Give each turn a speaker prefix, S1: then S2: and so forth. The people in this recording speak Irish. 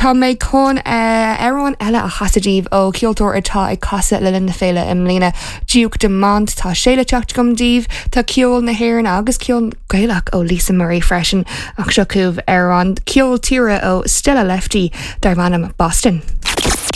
S1: Tá mé chun amhrán eile a chasadh daoibh ó cheoltóir atá ag casadh le linn na féile i mbliana, Duke Dumont. Tá sé le teacht agam daoibh. Tá ceol na hÉireann agus ceol Gaelach ó Lisa Murray freisin ach seo chugaibh amhrán ceol tíre ó Stella Lefty darb ainm Boston.